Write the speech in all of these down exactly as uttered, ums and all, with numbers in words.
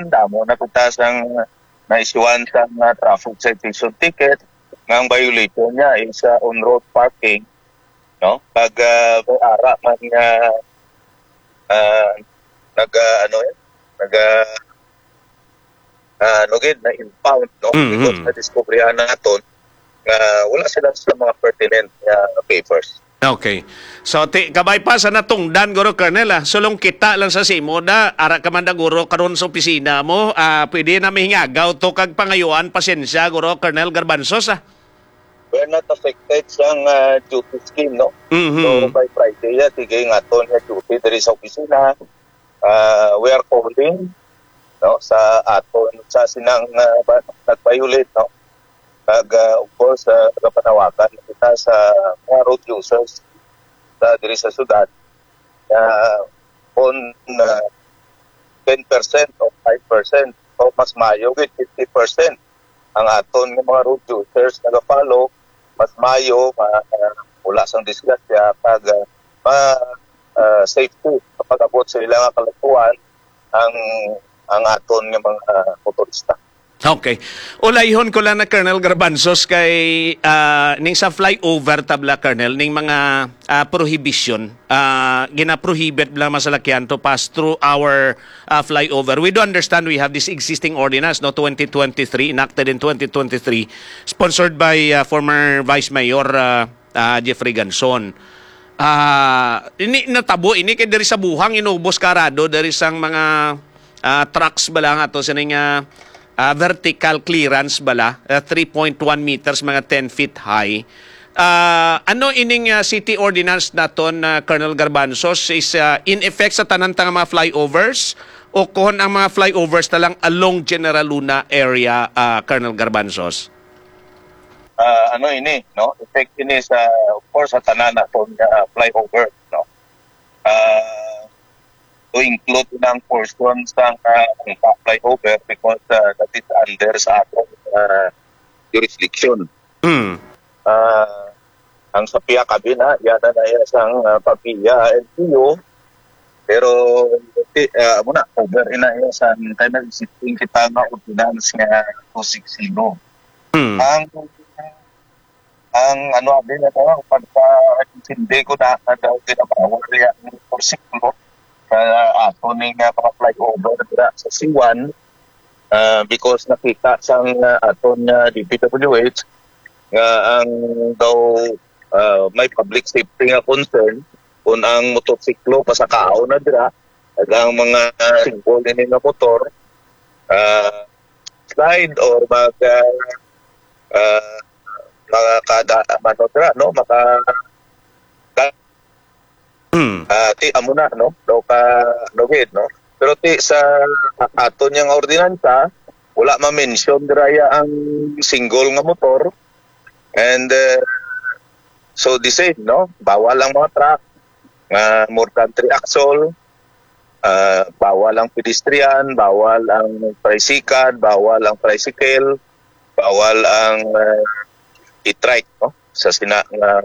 damo na kita sang naisyuhan sang, ah, traffic citation ticket nga ang violation niya is, ah, on-road parking, no? Kag, ah, may ara man nga, ah, nag, ah, ano, eh, nag, ah, ah, ano gid, na-impound, no? Mhm. Because nadiskubrihan naton nga wala sila sa mga pertinent nga papers. Okay. So, ti, kabay pa sa natungdan, guro, Colonel, ah. Sulong kita lang sa simo da, ara ka man da, guro, karon sa opisina mo, ah, pwede na mahingagaw to kag pangayuan, pasensya, guro, Colonel Garbanzos, ah. We're not affected sang, ah, duty scheme, no? Mhm. So, by Friday, ya, sige, nga aton nga duty diri sa opisina. Ah, we are calling, no, sa aton, sa sinang, ah, ba, nag-violate, no? Kag, ah, of course, ah, nagapanawagan kita sa mga road users sa diri sa syudad na kung, ah, ten percent o five percent o mas maayo gid fifty percent ang aton nga mga road users nagafollow, mas maayo, ma-, ah, wala sang disgrasya, kag, ah, ma-, ah, safety kapag abot sa ila nga kalagpuan ang, ang aton nga mga motorista. Okay. Ulayhon ko lang na, Colonel Garbanzos, kay, ah, ning sa flyover tabla, Colonel, ning mga, ah, prohibition, ah, gina-prohibit lang masalakyan to pass through our, ah, flyover. We do understand we have this existing ordinance, no, twenty twenty-three, enacted in twenty twenty-three, sponsored by, ah, former Vice Mayor, ah, ah, Jeffrey Ganson. Ah, ini natabo ini kay diri sa Buhang inubos karado diri sang mga, ah, trucks bala nga to sining, ah, ah, vertical clearance bala, ah, three point one meters, mga ten feet high. Ah, ano ining, ah, city ordinance naton, ah, Colonel Garbanzos, is, ah, in effect sa tanan ta nga mga flyovers o kon ang mga flyovers na lang along General Luna area, ah, Colonel Garbanzos? Ah, ano ini, no? Effect ini sa, of course, sa tanan naton nga flyover, no? Ah, to include na ang portion sa, ah, ang flyover because, ah, that is under sa aton, ah, jurisdiction. Mm. Ah, ang sa P I A Cabin, ha, yana na iya sang, ah, pamilya, L G U. Pero, ti, ah, amo na, over ina iya sa time na existing kita nga ordinance nga two six zero. Hmm. Ang, ang ano, abi na to, ang pagka-intindi ko na, na daw ginabawal niya ang motorsiklo sa ato ning, ah, mga flyover dira sa C one, ah, because nakita sang, ah, aton nga D P W H nga ang daw, ah, may public safety nga concern kung ang motorsiklo pasakaon na dira, ag ang mga single ini nga motor, ah, slide or mag, ah, ah, makakada-, ano dira, no? Maka-, Hmm. Ah, ti, amo na, no? No, ka, no, gid, no? Pero ti, sa aton yang ordinansa, wala ma-mention dira ya ang single nga motor. And, eh, so the same, no? Bawal ang mga truck nga more than three axle, ah, bawal ang pedestrian, bawal ang tricycle, bawal ang tricycle, bawal ang, ah, e-trike, no? Sa sina nga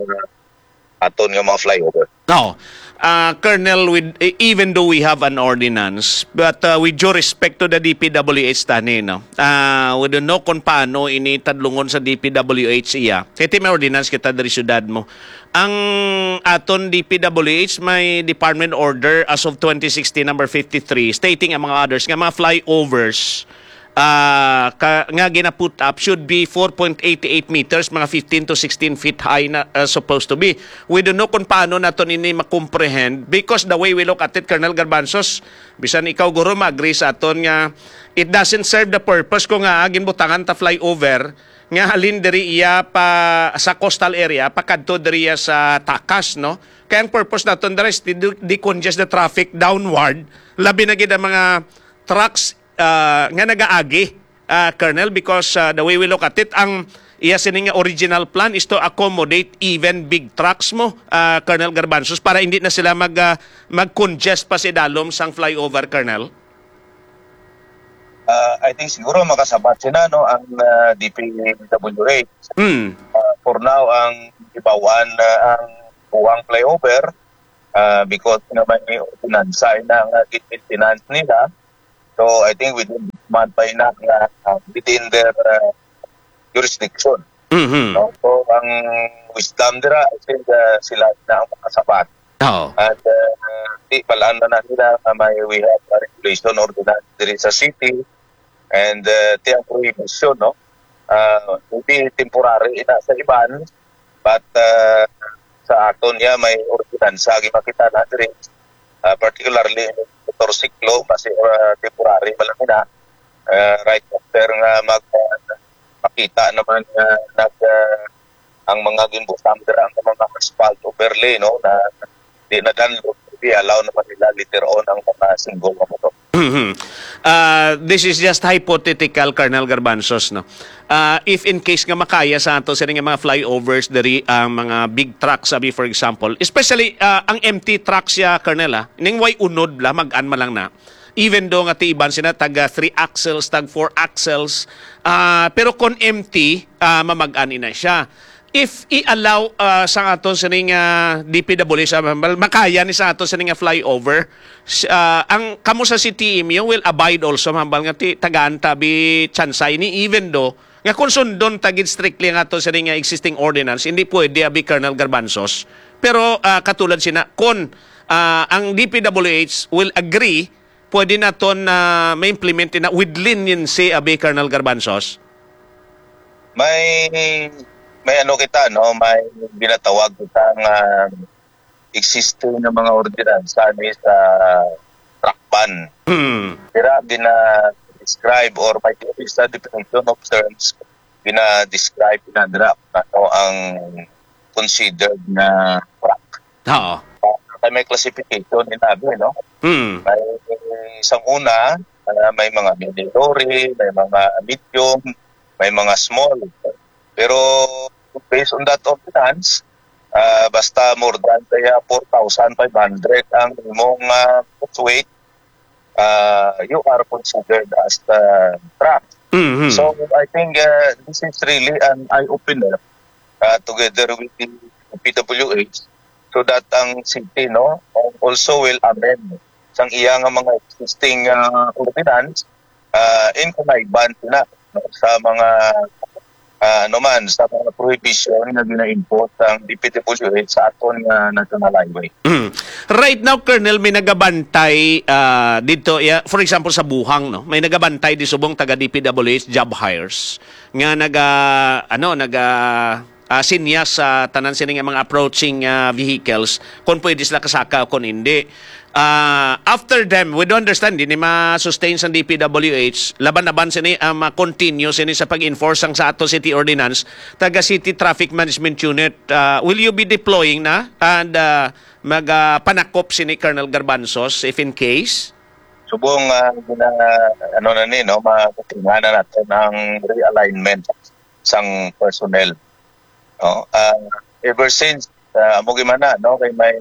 aton nga mga flyover. No. Ah, Colonel, with, e-, even though we have an ordinance, but, uh, with due respect to the D P W H tani, no? Ah, we don't know kung paano ini tadlungon sa D P W H iya. Kay ti may ordinance kita diri syudad mo. Ang aton D P W H may department order as of twenty sixteen number fifty-three stating, among others, nga mga flyovers, ah, ka, nga gina-put up should be four point eight eight meters, mga fifteen to sixteen feet high na, ah, supposed to be. We don't know kung paano naton ini ma-comprehend because the way we look at it, Colonel Garbanzos, bisan ikaw, guro, ma-agree sa aton nga it doesn't serve the purpose ko nga ginbutangan ta flyover nga halin diri iya pa sa coastal area, pakadto diri iya sa takas, no? Kaya ang purpose naton diri is to de-, decongest the traffic downward, labi na gid ang mga trucks, ah, nga nagaagi, ah, Colonel, because, ah, the way we look at it, ang iya sini nga original plan is to accommodate even big trucks mo, ah, Colonel Garbanzos, para hindi na sila mag, ah, mag-congest pa sa idalom sang flyover, Colonel. Ah, I think siguro makasabat sila, no, ang, ah, D P W H. Hmm. Ah, for now, ang ibawan, ah, ang Buang flyover, ah, because naman ni ordinansa na nga gin-maintenance nila, So, I think within this month pa ina nga, ah, within their, ah, jurisdiction. Mhm. No? So, ang WISDAM dira, I think, ah, sila na ang makasabat. Oo. And, ah, di, balaan na na nila nga may, we have a regulation ordinance diri sa city. And, ah, ti ang prohibition, no? Ah, maybe temporary ina sa iban, but, ah, sa aton niya may ordinansa, gimakita na diri, ah, particularly motorsiklo, basi, ah, temporary pa lang ina. Ah, right after nga mag, ah, makita naman nga nag, ah, ang mga ginbutang dira nga mga asphalt overlay, no, na di na download, di allow naman nila later on ang mga single nga motor. Mhm. Ah, this is just hypothetical, Colonel Garbanzos, no? Ah, if in case nga makaya sa ato sini nga mga flyovers diri ang mga big trucks, sabi, for example, especially, ah, ang empty trucks siya, Colonel, ah, ning way unod la, mag-an man lang na. Even though nga ti iban sina tag, ah, three axles, tag four axles, ah, pero kon empty, ah, mamag-an ina siya. If i-allow, ah, sa aton sining, ah, D P W H, ah, hambal, makaya ni sa aton sining nga flyover, s-, ah, ang kamo sa C T M U will abide also, hambal nga ti tagaan ta bi tsansa ini, even though nga kung sundon ta gid strictly ang aton sining nga existing ordinance, hindi pwede abi, Colonel Garbanzos. Pero, ah, katulad sina, kung, ah, ang D P W H will agree, pwede naton na ma-implement na with leniency, abi, Colonel Garbanzos? May, may ano kita, no? May ginatawag kita nga existing nga mga ordinansa ni sa truck ban. Hmm. Dira gina-describe or may sa definition of terms, gina-describe na dira kung ano ang considered na truck. Oo. Ah, kay may classification ni nabi, no? Hmm. May isang una, ah, may mga mini lorry, may mga medium, may mga small. Pero based on that ordinance, ah, basta more than kaya four thousand five hundred ang imong, ah, goods weight, ah, you are considered as the truck. Mhm. So, I think, ah, this is really an eye-opener, ah, together with the P W H, so that ang city, no, also will amend sang iya nga mga existing, ah, ordinance, ah, in connivance na, no, sa mga, ah, ano man, sa mga prohibition nga gina-impose ang D P W H sa aton nga national highway. Mm. Right now, Colonel, may nagabantay, ah, dito, ya-, for example, sa Buhang, no? May nagabantay di subong taga D P W H job hires nga naga, ano, naga, ah, sinyas sa tanan sini nga mga approaching, ah, vehicles kung pwede sila kasaka o kung hindi. Ah, after them, we do understand, di ni ma-sustain sang D P W H, laban-laban sini, ah, ma-continue sini sa pag-enforce sang sa ato city ordinance, taga City Traffic Management Unit. Ah, will you be deploying na and, ah, mag, ah, panakop sini, Colonel Garbanzos, if in case? Subong, ah, gina-, ano na ni, no, ma-, matingnan na naton ang realignment sang personnel. No? Ah, ever since, ah, amo gid man na, no, kay may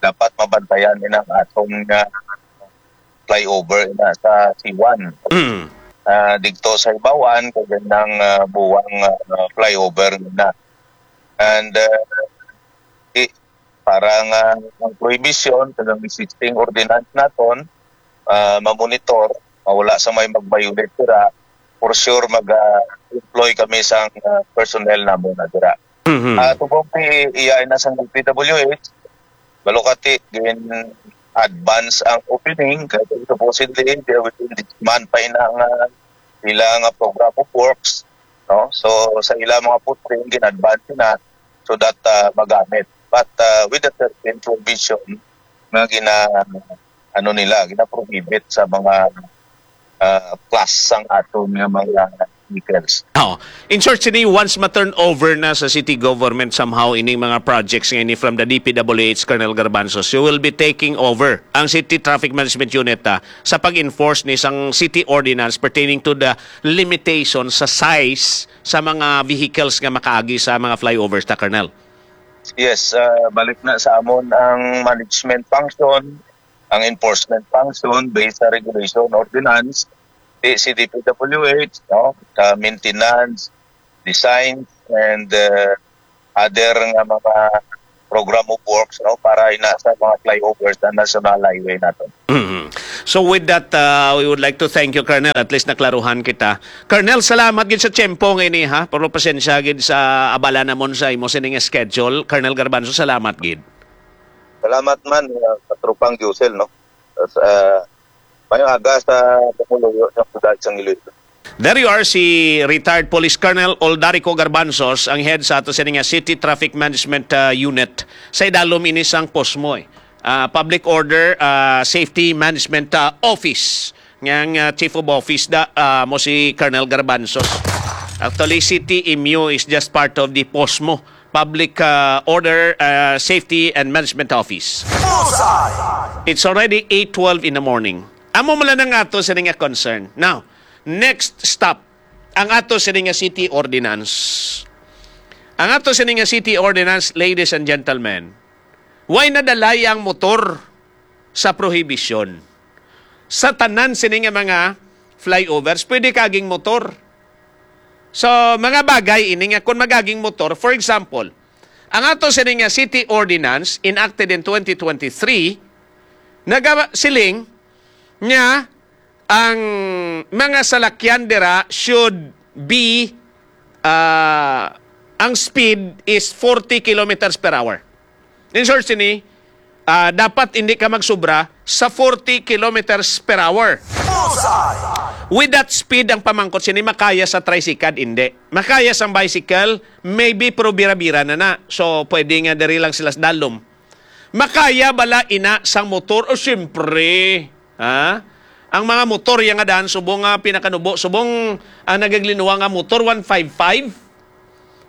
dapat mabantayan ni ang aton nga flyover na sa C one. Mm. Ah, digto sa Hibawan, kay nang, ah, Buwang, ah, flyover na. And, ah, i-, para nga ang prohibition kag ang existing ordinance naton, ah, mamonitor, mawala sa may mag-violate dira, for sure mag, ah, employ kami sang, ah, personnel namo na dira. Mhm. Ah, tubong ti iya na sang D P W H, balukati gin advance ang opening kay supposedly they within this month pa ina nga ila nga program of works, no? So sa ila mga posting gin advance na so that, ah, magamit. But, ah, with a certain provision nga gina, ano nila, gina-prohibit sa mga, ah, class sang aton nga mga vehicles. Oh, in short, sini, once ma-turn over na sa city government somehow ining mga projects nga ini from the D P W H, Colonel Garbanzos, you will be taking over ang City Traffic Management Unit, ah, sa pag-enforce ni sang city ordinance pertaining to the limitation sa size sa mga vehicles nga makaagi sa mga flyovers ta, Colonel? Yes, ah, balik na sa amon ang management function, ang enforcement function based sa regulation, ordinance, di si D P W H, no? Sa maintenance, design, and, ah, other nga mga program of works, no, para ina sa mga flyovers sa national highway naton. Mhm. So with that, uh, we would like to thank you, Colonel. At least naklaruhan kita. Colonel, salamat gid sa tiyempo nga ini, ha? Pero pasensya gid sa abala namon sa imo sining schedule. Colonel Garbanzo, salamat gid. Salamat man uh, sa tropang Diosel, no? Sa uh, mayong aga sa pumuluyo sa sudad sa Iloilo. There you are, si retired Police Colonel Oldarico Garbanzos, ang head sa ato sini nga City Traffic Management uh, Unit. Sa idalom ini sang POSMO, eh. Uh, Public Order uh, Safety Management uh, Office. Ngang uh, Chief of Office da uh, mo si Colonel Garbanzos. Actually, City M U is just part of the POSMO, Public uh, Order uh, Safety and Management Office. It's already eight twelve in the morning. Amo man lang ang ato sini nga concern. Now, next stop, ang ato sini nga city ordinance. Ang ato sini nga city ordinance, ladies and gentlemen, why nadalay ang motor sa prohibition? Sa tanan sini nga mga flyovers, pwede kaging motor. So, mga bagay ini nga kung magaging motor, for example, ang ato sini nga city ordinance enacted in twenty twenty-three nagasiling nga ang mga salakyan dira should be uh, ang speed is forty kilometers per hour. In short, sini, uh, dapat hindi ka magsubra sa forty kilometers per hour. With that speed, ang pamangkot sini, makaya sa tricycle, hindi. Makaya sa bicycle, maybe, pero bira-bira na na. So, pwede nga diri lang sila sa dalom. Makaya bala ina sang motor? O, siyempre. Ha? Ang mga motor yang nga daan, subong nga pinakanubo, subong ang nagaglinuwa nga motor, one five five.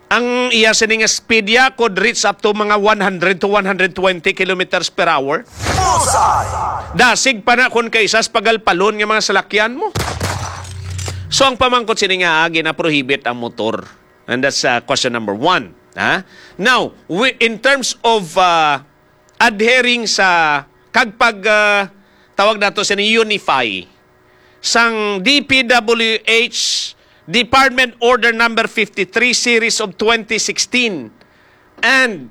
Ang iya sini nga speed ya could reach up to mga one hundred to one hundred twenty kilometers per hour. Dasig pa na kung kaisa sa pagalpalon nga mga salakyan mo. So ang pamangkot sini nga ah, ginaprohibit ang motor. And that's uh, question number one. Ha? Now, we, in terms of uh, adhering sa kag pag uh, tawag nato sa unify sang D P W H Department Order number fifty-three series of twenty sixteen, and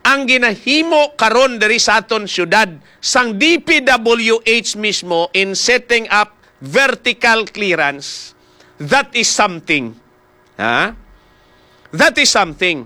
ang ginahimo karon diri sa aton syudad sang D P W H mismo in setting up vertical clearance, that is something. Ha? That is something.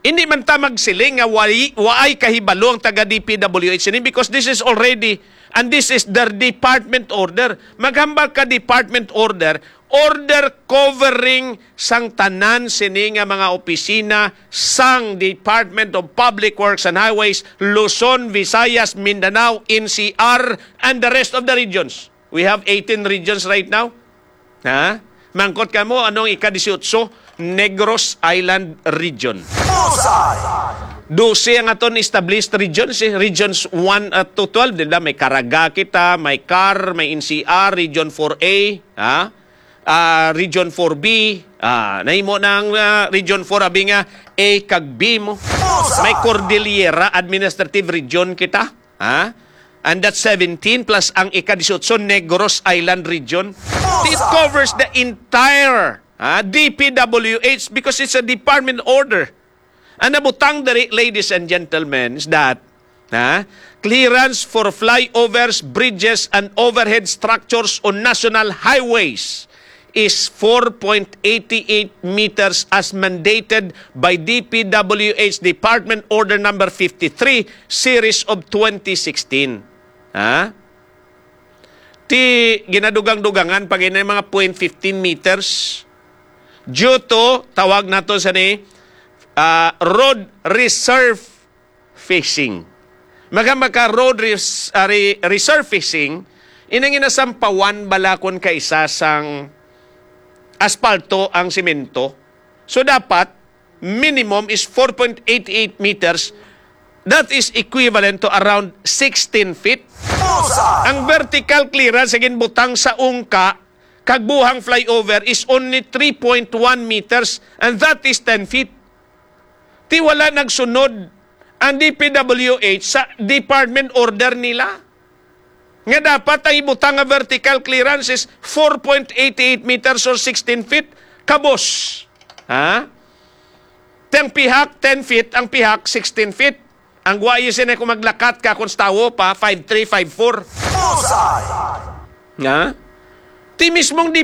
Hindi man ta magsiling nga waay, waay kahibalo ang taga D P W H ini because this is already, and this is their department order. Maghambal ka department order, order covering sang tanan sini nga mga opisina sang Department of Public Works and Highways, Luzon, Visayas, Mindanao, N C R, and the rest of the regions. We have eighteen regions right now. Ha? Mangkot ka mo, anong ika-disiotso? Negros Island Region. Dose ang aton established regions, eh. Regions one at to twelve, di ba? May Caraga kita, may car, may N C R, Region four A, ha? Ah, Region four B, ah, nahimo na ang ah, Region four, abi nga A kag B mo. May Cordillera Administrative Region kita, ha? And that's seventeen plus ang ika-disiotso, Negros Island Region. It covers the entire ah, D P W H because it's a department order. Ang nabutang diri, ladies and gentlemen, is that ah, clearance for flyovers, bridges, and overhead structures on national highways is four point eight eight meters as mandated by D P W H Department Order Number fifty-three, Series of twenty sixteen. Ha? Ti ginadugang-dugangan pa gani mga point fifteen meters due to, tawag nato sa ni, ah, road resurf facing. Maga maka road res, ah, re, resurfacing, inang inasampawan bala kon kaisa sang aspalto ang semento. So dapat minimum is four point eight eight meters. That is equivalent to around sixteen feet. Ang vertical clearance sa ginbutang sa ungka kag buhang flyover is only three point one meters, and that is ten feet. Ti wala nagsunod ang D P W H sa department order nila nga dapat ang ibutang nga vertical clearance is four point eight eight meters or sixteen feet. Kabos. Ha? Ti ang pihak, ten feet, ang pihak, sixteen feet. Ang guwayo sini kung maglakat ka kung sa tawo pa, five three, five four. Bullseye! Nga? Ti mismong